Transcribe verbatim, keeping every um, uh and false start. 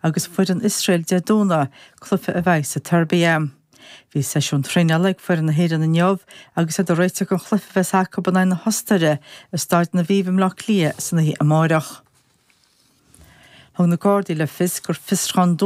agus foireann Iosrael Dé Domhnaigh, cluiche a bheidh sa tSeirbia. Bhí seisiún traenála ag foireann na hÉireann inniu agus iad ag réiteach don chluiche a bheas acu in aghaidh na hOstaire i Staid an Aviva i mBleá Cliath san oíche amárach. Thug na Gardaí le fios gur fiosrúchán